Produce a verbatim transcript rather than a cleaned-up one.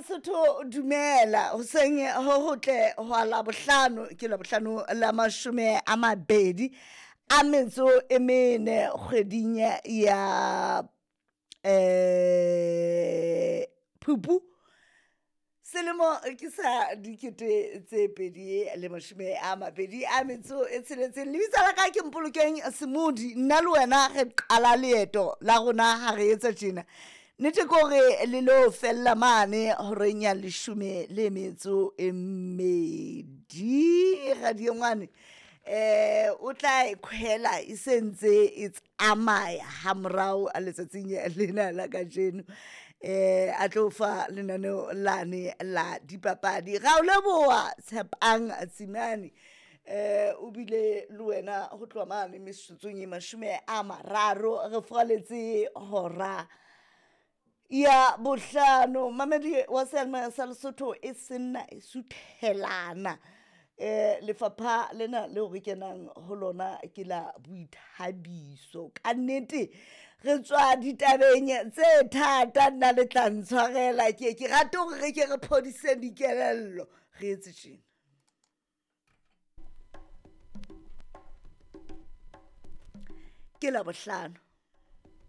Lesotho, dumela hoseng ho hotle hwa Labohlano. Ke Labohlano la mashome a mabedi a metso e mene kgweding ya eh Phupu, selemo ke sa dikete tse pedi le mashome a mabedi a metso e tsheletseng. Lebitso la ka ke Mpolokeng Semodi. Nna le wena re qala leeto la rona ha re etsa tjena. Nnete ke hore le lo fella mane horeng ya leshome le metso e mmedi. Radio ngwane eh o tla e khwela e sentse e tsamaya hamorao a letsatsing lena la kajeno, eh a tlo fa lenaneo lane la dipapadi. Ra o leboha Tshepang Tsimane, eh o bile le wena ho tloha mane metsotsong e mashome a mararo re furaletse hora ya bohlano. Mamedi wa seyalemoya sa Lesotho, e senna e suthelana. Eh lefapha lena leo re kenang ho lona ke la boithabiso. Ka nnete re tswa ditabeng tse thata, nna le tla ntshwarela, ke ke rate hore re ke re phodise dikelello, re etse tjena. Ke Labohlano.